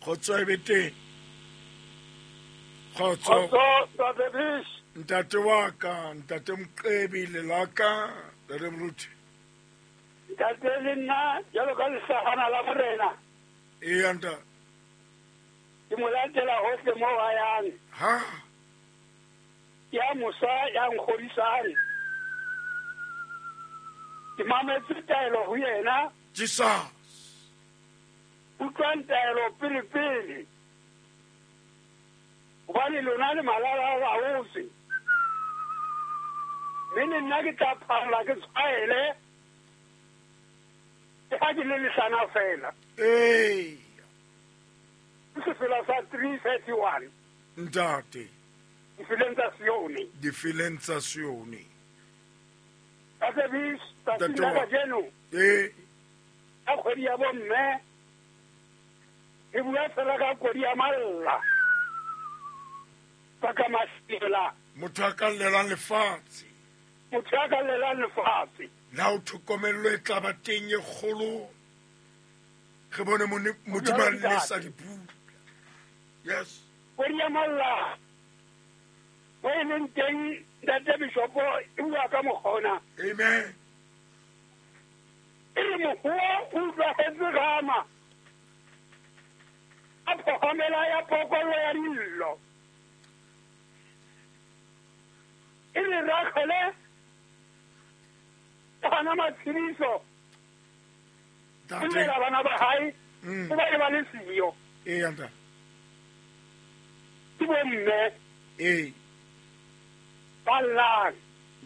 Kgotso e be teng. Kgotso. Kgotso, Ntate Bish. Ntate wa ka, Ntate Moqebi, lelaka, Ntate Moruti. Ntate le nna jalo ka lehlahana la morena. Eya, ntate. Ke mo latela hohle moo a yang. Ha. Ya mosa ya nkgodisang. Ke mametse taelo ho yena. Jesus. Utlwang taelo pele pele. Hobane lona le malala a laotse. Mme le nna ke tla phalla ke tshwaele. Ke ha ke le lehlana fela. Ee. Ke sefela sa 331. Ntate. Difeleng tsa Sione. Difeleng tsa Sione. Ntate Bish, tsatsing la kajeno. Ee. Ka kgwedi ya bomme. Re bua fela ka kodi ya malla. Baka masela. Motho a ka llelang lefatshe. Motho a ka llelang lefatshe. La o tlhokomello e tla ba teng e kgolo. Re bone Modimo a lesa dipula. Yes. Kodi ya malla. Mo e leng teng Ntate Bishopo e bua ka mokgona. Amen. E re mohoa o utlwahetse Rama. A phohomela ya pokollo ya dillo. E re Ragele o hana matshediso. O llela bana ba hae o ba e ba le siyo. Ee, ntate. Ke bomme. Ee. Ba llang.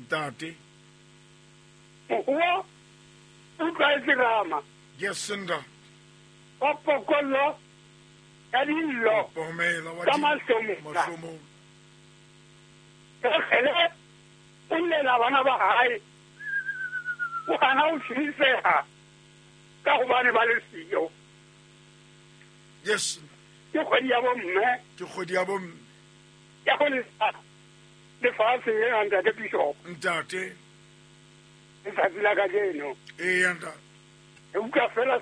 Ntate. Mohoa o utlwaetse Rama. Yes, ntate. Wa pokollo ya dillo tsa mahlomola. Ragele o llela bana ba hae. O hana ho tshediseha ka hobane ba le siyo. Yes. Ke kgwedi ya bomme. Ke kgwedi ya bomme. Ya ho lesa lefatshe lena, Ntate Bishop. Ntate. Letsatsi la kajeno. Eya, ntate. Re utlwa fela